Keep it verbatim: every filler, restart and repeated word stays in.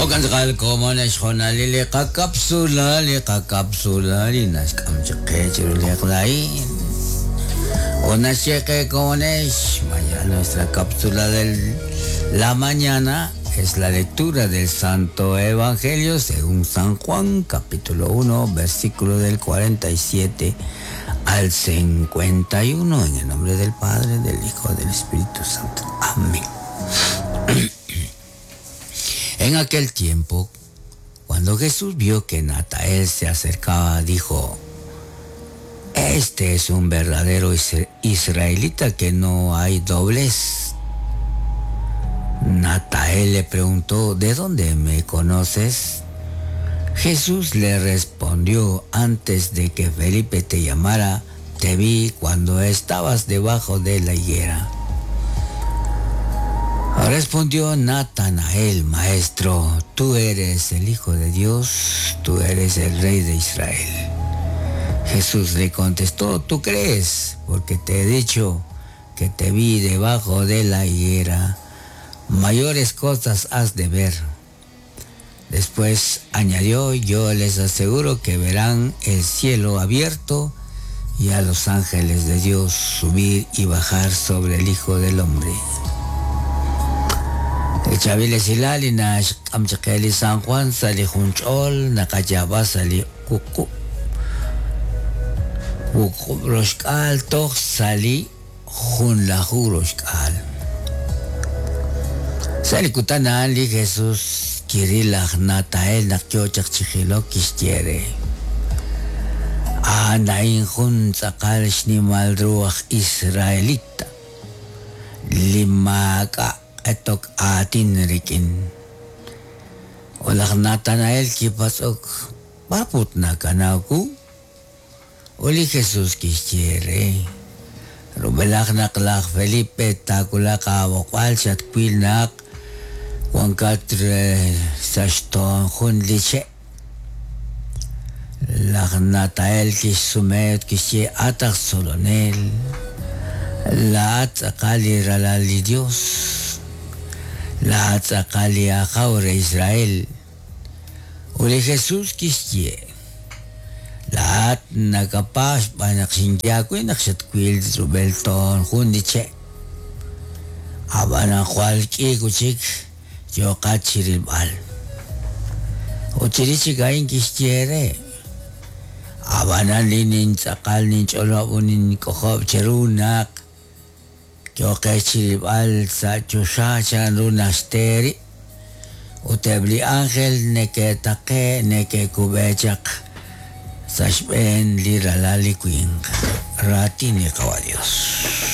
Okan komonex jonali li qakapsula li qakapsula li naxk'am chaq qe chiru li qlain. Onaxyeqe komonex, mañana nuestra cápsula de la mañana es la lectura del Santo Evangelio según San Juan, capítulo uno, versículo del cuarenta y siete al cincuenta y uno, en el nombre del Padre, del Hijo, del Espíritu Santo. Amén. En aquel tiempo, cuando Jesús vio que Natanael se acercaba, dijo: Este es un verdadero israelita que no hay doblez. Natanael le preguntó: ¿De dónde me conoces? Jesús le respondió: Antes de que Felipe te llamara, te vi cuando estabas debajo de la higuera. Respondió Natanael: Maestro, tú eres el Hijo de Dios, tú eres el Rey de Israel. Jesús le contestó: Tú crees, porque te he dicho que te vi debajo de la higuera. Mayores cosas has de ver. Después añadió: Yo les aseguro que verán el cielo abierto y a los ángeles de Dios subir y bajar sobre el Hijo del Hombre. Chavile silali na amchakeli San Juan sali junchol nakayaba sali kuku kuku roshkal toch sali junlahu roshkal sali kutana li Jesús kirilaj Natael nakyochak chijilo kishtiere anain jun tzakal shnimal ruach israelita limaka etok atin rikin. Olak Natanael kipasok baput na kanaku. Oli Jesús kishtiere. Rubelak naklak Felipe takulak awokwal chatkwil nak wankat sashton jun liche. Lak Natael kishsumet kishye atak solonel. La atzakali ralali Dios. La atzakali ajaure Israel. Uli Jesús kishye. La at nakapas panaksinyakoy naksatkwil rubelton jundiche. Abana kwalki kuchik yokat chiribal. Uchirichikain kishtiere. Abana linin tzakal nin cholobunin kojob cherunak. Yoke chiribal sa chosha chanrunasteri. Utebli ángel neke take neke kubechak. Sashben liralali queen. Ratini kawa Dios.